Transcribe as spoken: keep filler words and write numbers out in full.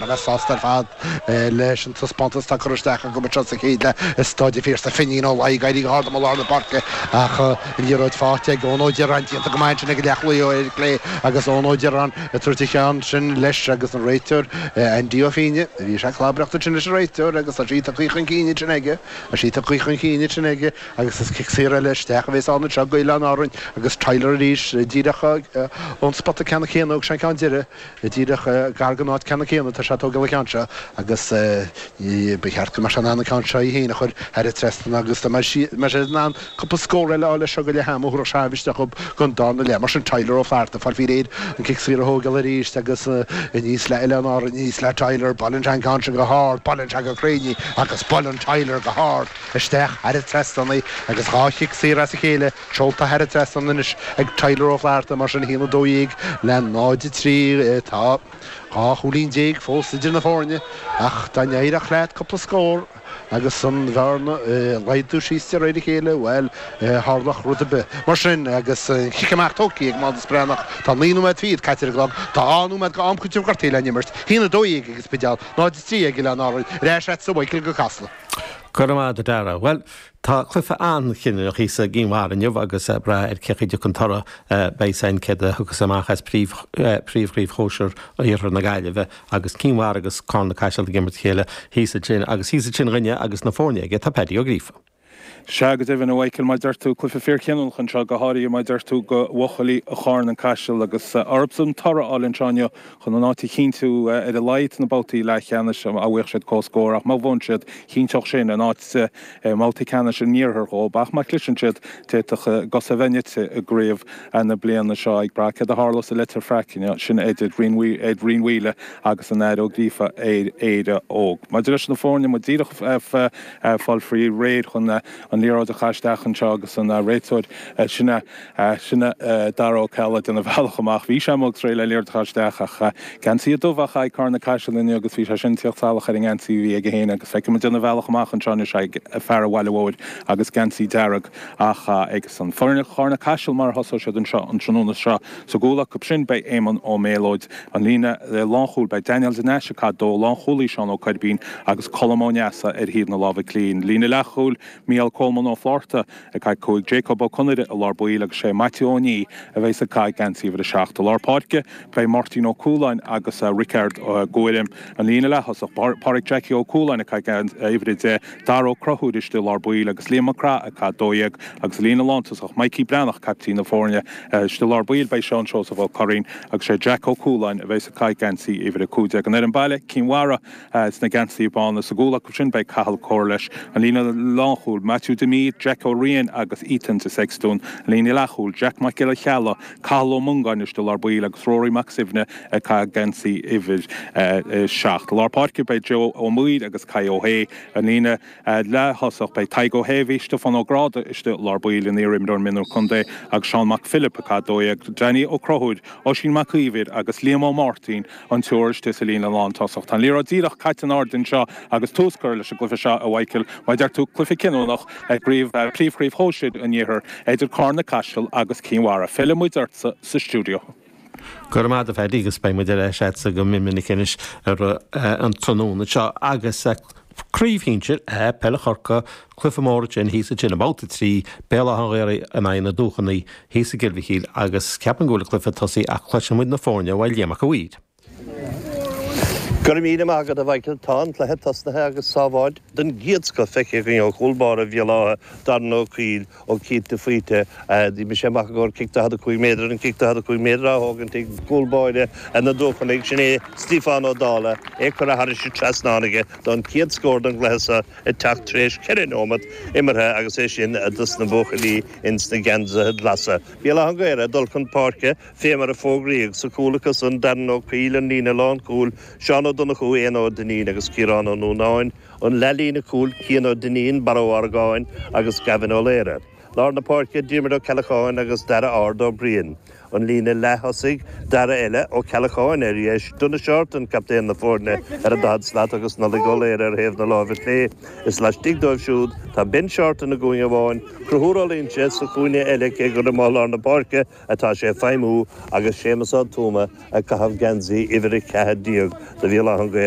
a bheith sásta ar fad leis an taispeántas atá curtha isteach acu anseo sa chéad leath i Staid an Phiarsaigh. Finín Ó Laoi ag éirí go hard i lár na páirce ach an liathróid faighte ag Eoin Ó Direáin déanta go maith ansin ag an leathchúlaí ó ar clé agus Eoin Ó Direáin ag tabhairt a cheann sin leis agus an réiteoir Andy Ó Fíne bhí sé clabreacht sin leis an réiteoir agus tá sí tagtha chun cinn sin aige a sí tagtha chun cinn sin aige agus is cic saor eile isteach a bheas ann anseo go Oileáin Árann agus Tyler arís díreach ón spota ceanna céanna agus an ceann deireadh díreach gar don áit ceanna céanna tá sé tógáil an ceann seo agus ba cheart go mbeadh sé in ann an ceann seo í féin a chur thar an trasnán agus tá sé in ann cúpla scór eile leis seo go leath ama thabharfadh sé isteach don darna leath mar sin Tyler Ó Flatharta fáil faoi réir an cic saor a thógáil arís agus aníos le Oileáin Árann aníos le Tyler buaileann sé an ceann seo go hard buaileann sé go cruinn agus buaileann Tyler go hard isteach thar an trasnán agus dhá chic saor as a chéile seolta thar an trasnán anois ag Tyler Ó Flatharta mar sin a haon a dó dhéag le náid a trí tá dhá chúilín déag fós idir na foirne ach dá n-éireodh leat cúpla scór agus an bhearna laghdú síos de réir a chéile bhuel tharlódh rud ar bith. Mar sin agus cic amach tógtha ag Mánas Breathnach tá naoi nóiméad fichead caite ar an gclog tá dhá nóiméad go am cúitimh gortaithe le n-imirt a haon a dó dhéag ag an Spidéal náid a trí ag Oileáin Árann ar ais agatsa Michael go Casla. Go raibh maith agat a Dhara. Well, tá cluiche an-chinniúnach thíos i gCinn Mhara inniu agus brath ar cé an toradh beidh san céard a thiocfas amach as príomhchraobh shóisir Iarthar na Gaillimhe agus Cinn Mhara agus Carna Caiseal ag imirt chéile thíos ansin agus thíos ansin againne agus na foirne aige tá Paddy Ó Gríofa. Sea go deimhin a Mhichael mar deir tú cluiche fíorchinniúnach anseo go háirithe mar deir tú do bhuachaillí Charn an Caiseal agus orthusan toradh a fháil anseo inniu chun an áit a chinntiú ar a laghad na babhtaí leathcheannais a bhuaigh siad comhscór ach má bhuann siad chinnteodh sin an áit mbabhtaí ceannais an iarthair dhóibh ach má chliseann siad d'fhéadfadh a gcosa a bheith nite i gcraobh na bliana seo ag brath céard a tharlós i Leitir Fraic sin idir Rinn Mhaoile agus an Aire Ó Gríofa ar Éire Óg. Maidir leis na foirne muid díreach fáil faoi réir chun an liathróid a chaitheamh isteach anseo agus an réiteoir sinne sinne Dara Ó Ceallaigh déanamh bealach amach. Bhí sé amuigh réidh le liathróid a chaitheamh isteach ach geansaí dubh a chaith Carna Caiseal inniu agus bhí sé sin tíocht salach ar an ngeansaí a bhí aige féin agus feicim déanamh bealach amach anseo anois ag fear an Bhaile Mhóir agus geansaí dearg ach agus an foirne Charna Caiseal mar a thosóidh siad anseo an tráthnóna seo sa gcúl acu sin beidh Éamonn Ó Méalóid an líne lánchúil beidh Daniel de Nais ag caitheamh dó lánchúlaí Seán Ó Coirbín agus Colm Ó Neasa ar thaobh na láimhe clí. Líne leathchúil Mícheál Coleman Ó Flátharta ag caitheamh cúig Jacob Ó Conaire i lár baill agus sé Matthew Ó Ní a bheidh ag caitheamh geansaí uimhir a seacht i lár páirce beidh Martin Ó Cualáin agus Richard Guairm an líne leath-thosach Pádraig Jackie Ó Cualáin ag caitheamh uimhir a deich Dara Ó Conchúir istigh i lár baill agus Liam Mac Craith ag caitheamh dó dhéag agus líne lántosach Mikey Breathnach caiptín na foirne istigh i lár baill beidh Seán Seosamh Ó Curraoin agus sé Jack Ó Cualáin a bheidh ag caitheamh geansaí uimhir a cúig déag an ar an baile Cinn Mhara sna geansaí bána sa gcúl acu sin beidh Cathal Cóir an líne lánchúil Matthew Demí Jack Ó Riain agus Ethan de Sextún líne leathchúil Jack Mac Giolla Chealla Cathal Ó Mongáin istigh i lár baill agus Rory Mac Suibhne ag caitheamh geansaí uimhir seacht. Lár páirce beidh Joe Ó Muir agus Kai Ó hÉ an líne leath-thosach beidh Tadhg Ó hÉimhí Stiofán Ó Gráda istigh lár baill an iarimreoir mionúr contae agus Seán Mac Philip ag caitheamh dó dhéag Danny Ó Conchúir Oisín Mac Íomhair agus Liam Ó Máirtín an triúr istigh sa líne lántosach. Tá an liathróid díreach caite in airde anseo agus tús curtha leis an gcluiche seo a Mhichael mar deir tú cluiche cinniúnach ag príomhchraobh shóisir an iarthair idir Carna Caiseal agus Cinn Mhara. Fillfidh muid ortsa sa stiúideo. Go raibh maith agat a Phaddy agus beidh muid ar ais agatsa go minic anois ar an tráthnóna seo agus craobh shinsir peile Chorcaí cluiche mór sin thíos ansin i mbabhta trí Béal Átha an Ghaorthaidh in aghaidh na Dúchonaí thíos i gCill Mhichíl agus ceapaim go bhfuil cluiche tosaithe ach cloisfidh muid na foirne ó Liam Mac a' Mhaoir. Go raibh míle maith agat a Mhichael tá an cluiche tosaithe agus sábháil den gcéad scoth feicthe againn ó chúl báire Bhéal Átha Darren Ó Cuill ó cinnte faoite Bhí sé amach gur cic daichead a cúig méadar an cic daichead a cúig méadar á thógaint ag cúl báire na Dúchonaí sin é Stiofán Ó Dála é curtha thar an trasnán aige don chéad scór don gcluiche seo ag teacht tar éis ceithre nóiméad imeartha agus é sin dos na buachaillí ins na geansaithe glasa. Béal Átha an Ghaorthaidh dul chun páirce fé mar a fógraíodh sa chúl acu san Darren Ó Cuill an líne lánchúil Seán Ó Donnchú Éanna Ó Duinnín agus Ciarán Ó Núnáin an leathlíne cúil Cian Ó Duinnín Barra Ó Argáin agus Gavin Ó Laoire. Lár na páirce Diarmuid Ó Ceallacháin agus Dara Ard Ó Briain. an líne leath-thosaigh, Dara eile, Ó Ceallacháin ar dheis, Donagh Shorten, captaen na foirne, ar an daichead slat agus Nollaig Ó Laoire ar thaobh na láimhe clé. Is laistigh dóibh siúd tá Ben Shorten i gcúinne amháin, Conchúr Ó Loingsigh sa chúinne eile cé gur i lár na páirce atá sé ag feidhmiú agus Séamus Ó Tuama ag caitheamh geansaí uimhir a ceathair déag do Bhéal Átha an Ghaorthaidh.